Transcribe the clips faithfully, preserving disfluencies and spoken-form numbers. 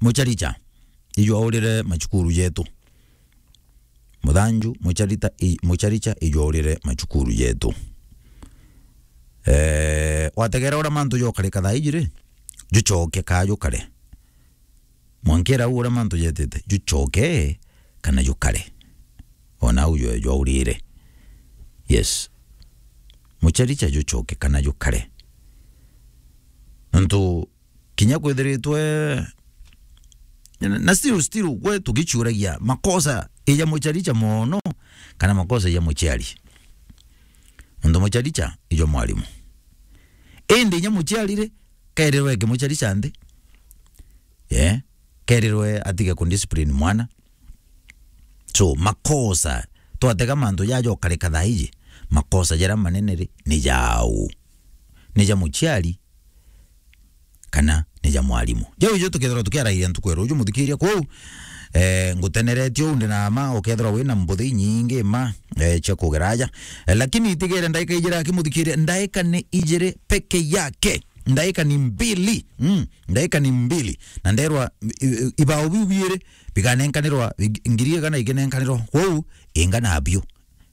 Mucharicha, ijwaurire machukuru jetu. Muthanju, mucharita, i-, mucharicha, ijwaurire machukuru jetu. Eh, wategera uria mantu jokarika thaa iji ri, jucoke kaa jukare. Mwankira u uria mantu jetite, jucoke kana jukare. Ona u jwe jwaurire. Yes. Mucharicha jucoke kana jukare. Nontu kinya kwithiritwe na, na still, still, gwe tugichuragia makosa ija mucharicha mono kana makosa ija muchiari. Nontu mucharicha ijo mwarimu. Indi inya muchiari ri, kerirwe kimucharicha nthi. Yeah. Kerirwe atige kundiscipline mwana. So, makosa, twatega mantu jaja ukarika thaa iji, makosa jaria manene ri, ni jau? Ni ja muchiari kana ni ja mwarimu? Jau ijo tukethirwa tukiarairia ntuku ya ruju, muthikiria kwou, eh, nguteneretie uu ndi na ma, ukethirwa wina mbuthi inyingi ma, eh, cia kugera aja. Eh, lakini itigere ndaika ijiri aki muthikiria, ndaika ni ijiri peke yake. Ndaika ni mbili. Mm, ndaika ni mbili. Na nderwa, i-, i-, ibao biu biiri bikanenkanirwa, i-, ngiri igana ikinenkanirwa. Kwou, ingana biu.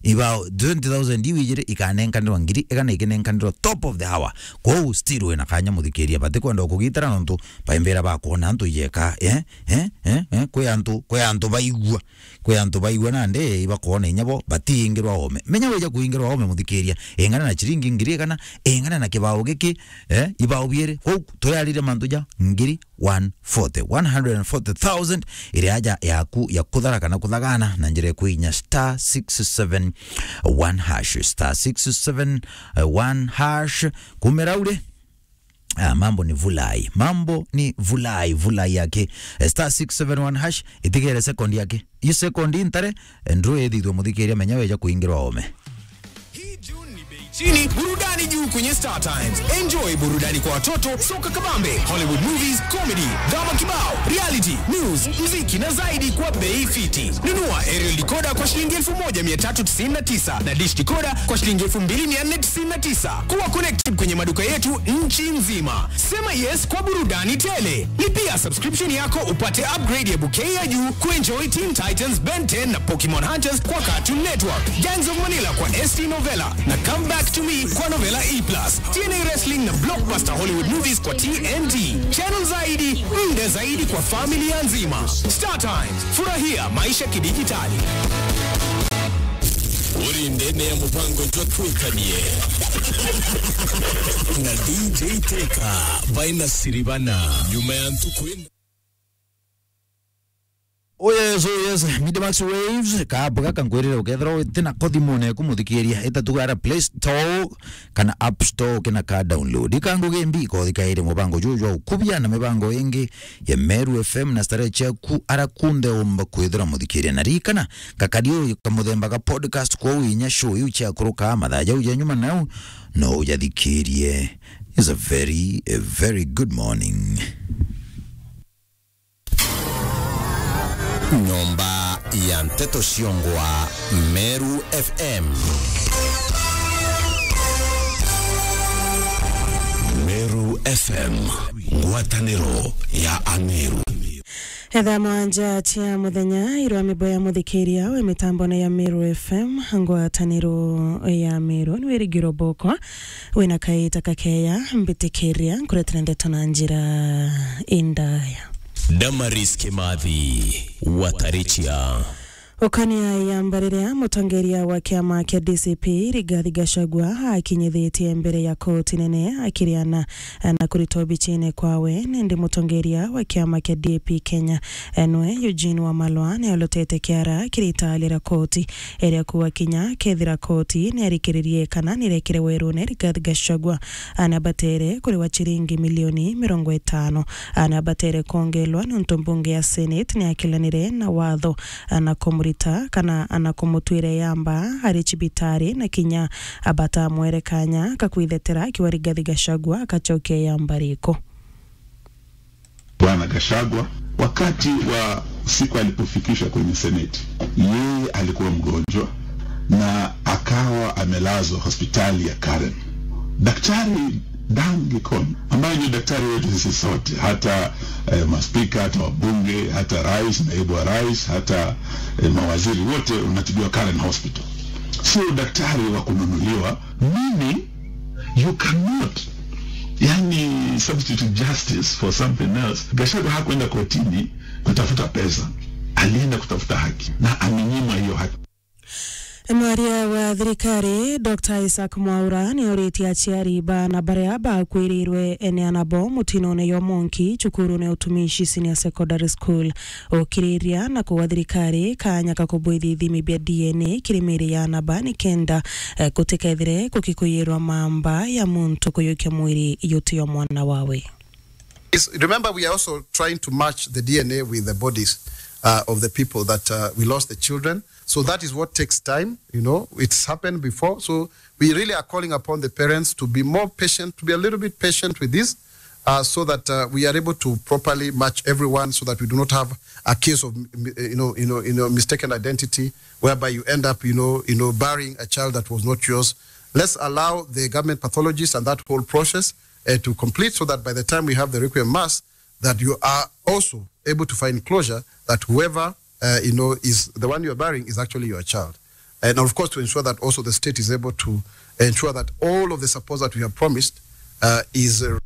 Ibao twenty thousand iu ijiri ikanenkanirwa, ngiri igana ikinenkanirwa top of the hour. Kwou, still wina kanya muthikiria. Batikwenda kugitira nontu baimbira bakwona antu ijeka. Eh? Eh? Eh? Eh? Kwi antu, kwi antu baigua. Kwi antu baigua nandi ibakwona inya bo batiingirwa ome. Menya wija kuingirwa ome muthikiria. Ingana na chiringi ngiri igana, ingana na kibao giki, eh, ibao biiri. Kwou, turiarire mantu ja ngiri one forty, one hundred and forty thousand iri aja yaku ya kuthara kana kuthagana na njira ya kuinya star six seven one hash, star six seven one hash. Kumira uri, ah, mambo ni vulai, mambo ni vulai, vulai yake. Eh, star six seven one hash, itigere second yake. Iyo second intare, eh, ndru ithithwe muthikiria, menya weja kuingirwa ome. Hii June ni bei chini, burudani juu kwenye Star Times. Enjoy burudani kwa watoto, soka kabambe, Hollywood movies, comedy, drama kibao, reality, news, muziki na zaidi kwa bei fiti. Nunua aerial decoder kwa shilingi elfu moja mia tatu tisini na tisa na dish decoder kwa shilingi elfu mbili mia nne tisini na tisa. Kuwa connected kwenye maduka yetu nchi nzima. Sema yes kwa burudani tele. Lipia subscription yako upate upgrade ya bouquet ya juu kuenjoy Teen Titans, Ben ten na Pokemon Hunters kwa Cartoon Network, Gangs of Manila kwa S T Novella na Come Back to Me kwa Novella E plus, T N A Wrestling na blockbuster Hollywood movies kwa T N T. Channel zaidi, muda zaidi kwa familia nzima. Star Times, furahia maisha kidijitali. Uri ndene ya mupango jwa Twikanie na D J Teka baina Siribana. Nyuma ya ntuku ina. Oh yes, oh yes. Media Max Waves, kaabu gaka nkwirire ukethirwa witi nako thimune yaku muthikiria, ita tu gara Play Store kana App Store kina ka download. Ikangugi mbi ikothikaire mubango juju jwa ukubia na mibango ingi ya Meru F M na starehe ciaku ara kunthe umba kwithira muthikiria. Na ririkana, gakari uyu ka muthemba ga podcast, kwou inya show iu ciakuruka mathaa jau ja nyuma nau no ujathikirie. It's a very, a very good morning. Nyomba ya nteto ciongwa Meru F M. Meru F M, ngwataniro ya Ameru. Etha mwanja cia muthenya, irwa mibo ya muthikiria we mitambone ya Meru F M, ngwataniro ya Meru, ni wirigiro bokwa. Wina kaita kakeya, mbitikiria nkuretera ndeto na njira indaya. Damaris Kimathi, Watarichia. Ukania ya mbariria, mutongeria wa kiama kia D C P, Rigathi Gachagua, akinyithitie mbere ya koti nene akiriana na kuritwa bichine kwawe, nindi mutongeria wa kiama kia D A P Kenya, enwe Eugene Wamalwa, ni alotete kiara kiritaali ra koti iria kuwa kinya kethira koti ni arikiririe kana ni rekire werune Rigathi Gachagua, ana batere kuriwa chiringi milioni mirongo itano. Ana batere kongelwa nontu mbunge ya Senate ni akilanire na watho, ana kumurita kana ana kumutwire yamba ari chibitari, na kinya abatamwere kanya kakwithetera akiwa Rigathi Gachagua akachokia yamba riko. Bwana Gachagua, wakati wa siku alipofikishwa kwenye Seneti, yeye alikuwa mgonjwa na akawa amelazwa hospitali ya Karen. Daktari Down Likoni, ambayo ndio daktari wetu sisi sote, hata eh, maspika, hata wabunge, hata rais, naibu wa rais, hata eh, mawaziri wote wanatibiwa Karen Hospital. Sio daktari wa kununuliwa, meaning you cannot, yani, substitute justice for something else. Gachagua hakwenda kotini kutafuta pesa, alienda kutafuta haki na amenyimwa hiyo haki. Mwaria wa thirikari, Doctor Isaac Mwaura, ni auritie aciari baana baria bakwirirwe ni anabo mutinone jwa Monki, cukurune Utumishi Senior Secondary School, ukiriria na kuga thirikari kanya ka kubwithia ithimi bia D N A kiri miri ya anaba, ni kenda eh, gutikethire gukikuyirwa mamba ya muntu kuyukia mwiri yuti yo mwana wawe. Is, remember, we are also trying to match the D N A with the bodies uh, of the people that uh, we lost the children. So that is what takes time. You know, it's happened before. So we really are calling upon the parents to be more patient, to be a little bit patient with this, uh, so that uh, we are able to properly match everyone, so that we do not have a case of m- m- you know, you know, you know, mistaken identity, whereby you end up, you know, you know, burying a child that was not yours. Let's allow the government pathologists and that whole process uh, to complete, so that by the time we have the requiem mass, that you are also able to find closure that whoever uh, you know is the one you are burying is actually your child. And of course, to ensure that also the state is able to ensure that all of the supports that we have promised uh, is uh,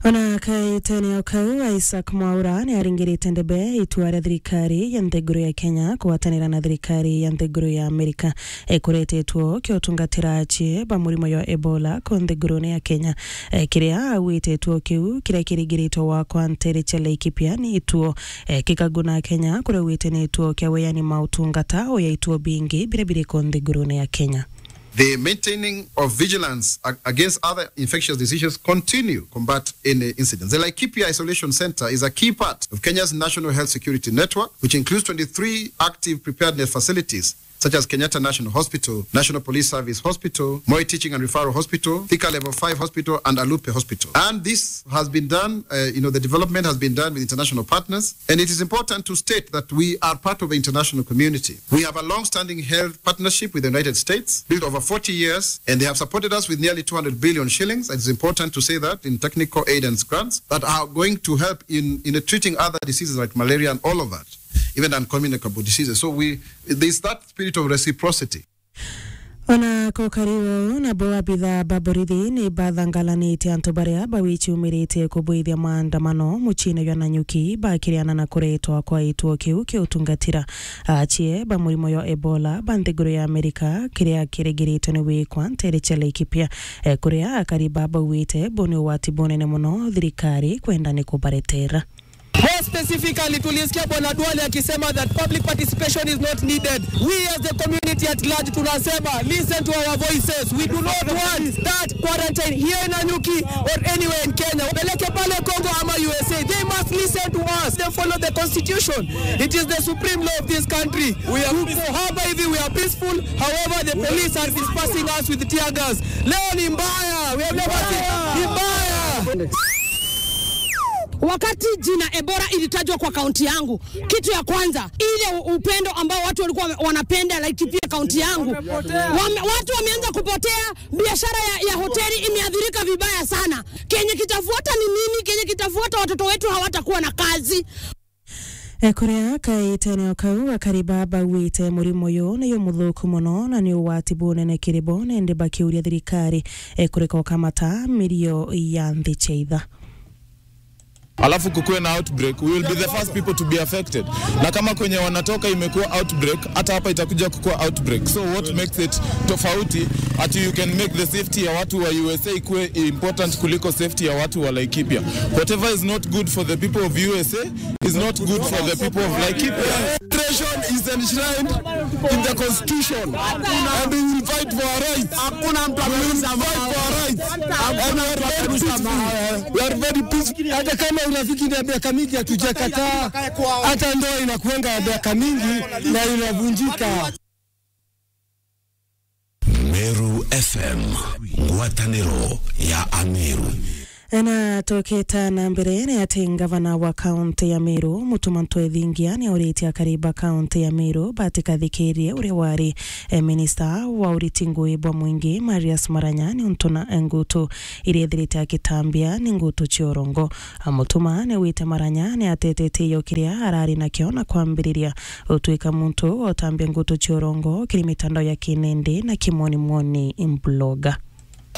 Ona kaitene o kau, Isaac Mwaura ni aringirite ndebe itua ria thirikari ya nthiguru ya Kenya kugwatanira na thirikari ya nthiguru ya Amerika, eh, kuretetwo kia utungatira acii ba murimo jwa Ebola ku nthigurune ya Kenya, eh, kiria augite ituo kiu kiria kiringiritwe gwakwa ntere cia Laikipia ni ituo, eh, kikaguna Kenya, kuria augite ni ituo kia weani mautungata uya ituo bingi biria biri ku nthigurune ya Kenya. The maintaining of vigilance ag- against other infectious diseases continue combat any incidents. The Laikipia Isolation Center is a key part of Kenya's National Health Security Network, which includes twenty-three active preparedness facilities, such as Kenyatta National Hospital, National Police Service Hospital, Moi Teaching and Referral Hospital, Thika Level five Hospital, and Alupe Hospital. And this has been done, uh, you know, the development has been done with international partners. And it is important to state that we are part of the international community. We have a long-standing health partnership with the United States, built over forty years, and they have supported us with nearly two hundred billion shillings. It is important to say that in technical aid and grants that are going to help in, in treating other diseases like malaria and all of that, even uncommunicable diseases. So we, there's that spirit of reciprocity. Ona kukari uu, nabo abitha ba borithi ni bathangalanite antu baria bawiciumiritie kubwithia maandamano muciine jwa Nanyuki bakiriana na kuretwa kwa ituo kiu kia utungatira acii ba murimo jwa Ebola ba nthiguru ya Amerika, kiria kiringiritwe ni wikwa ntere cia Laikipia, eh, kuria akari ba bauite bu ni ugwati bunene mono thirikari kwenda ni kubaretera. More specifically, tulisikia Bwana Duale akisema that public participation is not needed. We as the community at large tunasema, listen to our voices. We do not want that quarantine here in Nanyuki or anywhere in Kenya. Wapeleke pale Congo ama U S A. They must listen to us. They follow the constitution. It is the supreme law of this country. We are tuko hapa hivi, we are peaceful. However, the police are dispersing us with tear gas. Leo ni mbaya. We have never seen. Ni mbaya. Wakati jina Ebola ilitajwa kwa kaunti yangu, kitu ya kwanza, ile u- upendo ambao watu walikuwa wame- wanapenda Laikipia kaunti yangu, wame, watu wameanza kupotea. Biashara ya, ya hoteli imeathirika vibaya sana. Kenye kitafuata ni nini? Kenye kitafuata, watoto wetu hawatakuwa na kazi. E, kuria kaitene o kau, akari ba bauite murimo uyu ni umuthuku mono na ni ugwati bunene kiri bo, na indi bakiuria thirikari, e, kureka ukamata mirio ya nthi cia itha. Alafu kukuwe na outbreak, we will be the first people to be affected. Na kama kwenye wanatoka imekuwa outbreak, hata hapa itakuja kukuwa outbreak. So what makes it tofauti ati you can make the safety ya watu wa U S A ikuwe important kuliko safety ya watu wa Laikipia? Whatever is not good for the people of U S A is not good for the people of Laikipia. Registration is enshrined in the constitution, and we will fight for our rights. Hakuna mtu amesema. We will fight for our rights. Hakuna mtu amesema. We are very peaceful. Hata kama urafiki ni ya miaka mingi, hatujakataa. Hata ndoa inakuanga ya miaka mingi na inavunjika. Meru F M, ngwatanĩro ya Ameru. Na tukita na mbere, ni ati ngavana wa kaunti ya Meru, Mutuma M'Ethingia, ni auritie akari ba kaunti ya Meru batikathikirie uria wari, eh, minista wa uriti ngui bwa mwingi, Marius Maranya, ni untu na ngutu iria ithirite akitambia ni ngutu cia urongo. Mutuma ni wite Maranya ni atetete iyo kiria arari nakio na kwambiriria utwika muntu wa utambia ngutu cia urongo kiri mitandao ya kinindi na kimwoni mwoni blogger.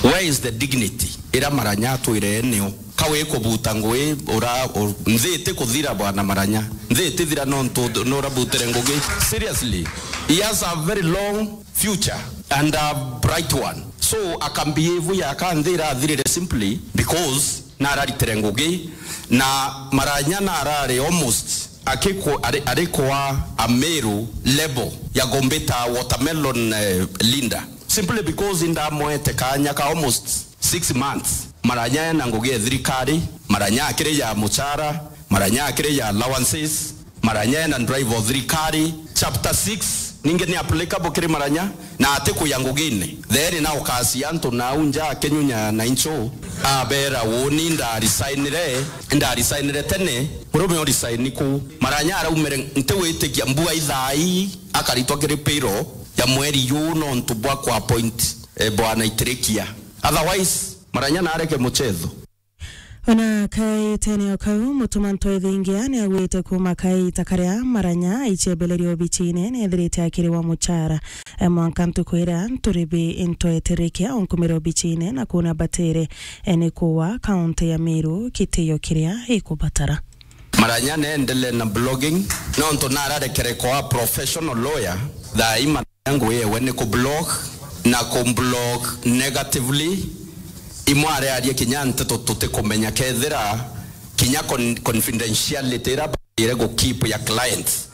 Where is the dignity ira Maranya atwire nio? Ka wi kubuta ngui, ura, u-, nthi iti kuthira, bwana Maranya. Nthi iti thira nontu nurabutire ngugi. Seriously. He has a very long future and a bright one. So, akambehave ya ka nthi irathirire simply because nararitire ngugi, na Maranya narari almost akiko-, ari, ari kwa a Meru level ya kumbita watermelon, eh, leader. Simply because indamwete kanya ka almost six months. Maranya ena ngugi ya thirikari, Maranya akiri ya muchara, Maranya akiri ya allowances, Maranya ena drive o thirikari. Chapter six, ningi ni applicable kiri Maranya, na ati kuya ngugine. Theri na ukacia antu nau nja akinyunya na incho, abera, "Uuni ndarisignire, ndarisignire tene, murume urisign ku." Maranya araumire, ntiwitikia mbua ithaa ii, akaritwa kiri payroll ya mweri juu nontu bwa ku appoint, eh, bwana Itirikia. Otherwise, Maranya nareke muchetho. Ona kaitene o kau, Mutuma M'Ethingia ni agwite kuuma kaita karia Maranya aicebeleria obichine ni ethirite akiri wa muchara. E, mwanka ntuku iria nturibi ntwetirikia onkumira obichine na kuuna batire, e, ni kuwa kaunti ya Meru kitio kiria ikubatara. Maranya neendelee na blogging, nontu nararekere kwa professional lawyer, thaa ii Maranya ngui yewe ni ku blog, na ku blog negatively. Imwe arearia kinya nteto tutikumenya kethira kinya con-, confidentiality ira baire gu keep ya clients.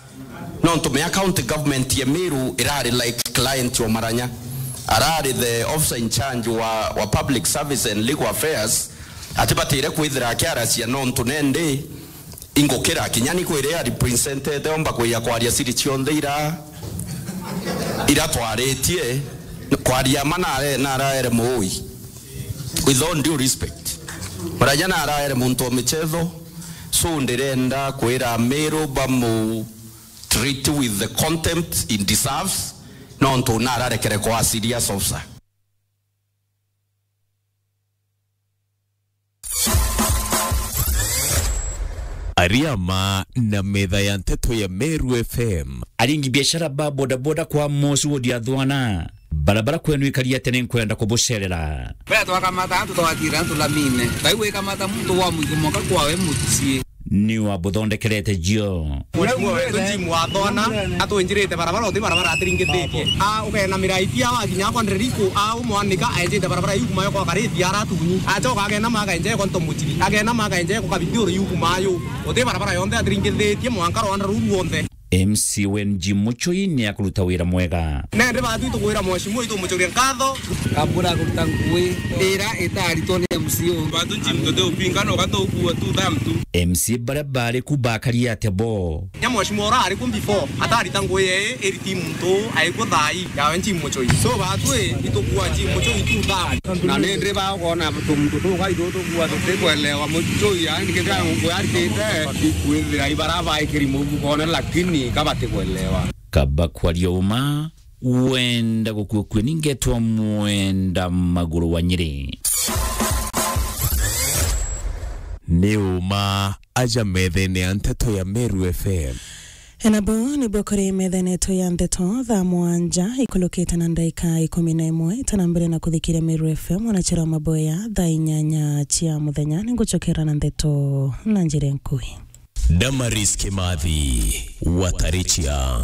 Nontu mea county government ya Meru irari like client wa Maranya. Arari the officer in charge wa, wa public service and legal affairs, ati batire kwithira akiaracia nontu nendi ingukira kinya ni kwire arepresentete omba kwija kwaria siri cionthe ira, ira twaritie. Kwaria ma nare-, naraere muui. With all due respect, Maranya naraere muntu wa michetho, so ndirenda kwira Meru bamu treat with the contempt he deserves, nontu nararekere kwa serious officer. Ariama na metha ya nteto ya Meru F M. Aringi biashara ba bodaboda kwa Mosi Wodi ya Thwana. Barabara kwenu ikari atia, ni nkwenda kubucerera. Bea twakamata antu twatira antu lamine. Ngai wikamata muntu wa mwigo mwanka kwawe mucii. Ni wabuthondekerete jio. Mheshimiwa wetu Jim wa Thwana atwinjirite barabara, uti barabara atiringithitie. A, ukenamira itia wakinya kwa Nderiko, a, umwanika aenjite barabara iu kuma yo kwa Karithi aratunyi. Acoka akenama akenja yo kwa Ntomuchiri. Akenama akenja yo kwa Kabithiuru iu kuma yo. Uti barabara yonthe atiringithitie mwanka rwanda ruu rwonthe. M C Wen Jim Muchoi ni akuruta wira mwega. Nende batu itukwira mheshimiwa itumucuria nkatho. Kambura kuruta ngui ira itaritwo ni M C O. Batu Jim tute upinga no gato kuwa tu dam tu. M C baria bari ku bakari atia bo? Nya mheshimiwa ura ari ku before atarita ngui yee iriti muntu aikwa thai yawe Jim Muchoi. So batu itukuwa Jim Muchoi tu dam. Na nende ba ukona tumuntu tuka ithu tukuwa tutikwelewa Muchoi yani kethira ngui aritite ikwithira ibara baikiri mukone lakini kabatikwelewa. Kaba kwaria uma, wenda gukua kue ningetwa Mwenda Maguru wa Nyeri. Ni uma aja methene ya nteto ya Meru F M. Enabo nibo kuri methene yetu ya nteto thaa mwanja ikulukite na ndaika ikumi na imwe. Itana mbere na kuthikiria Meru F M, ona chira maboya thaa inyanya cia muthenya, ninguchokera na nteto na njira nkui. Damaris Kimathi, Watarichia.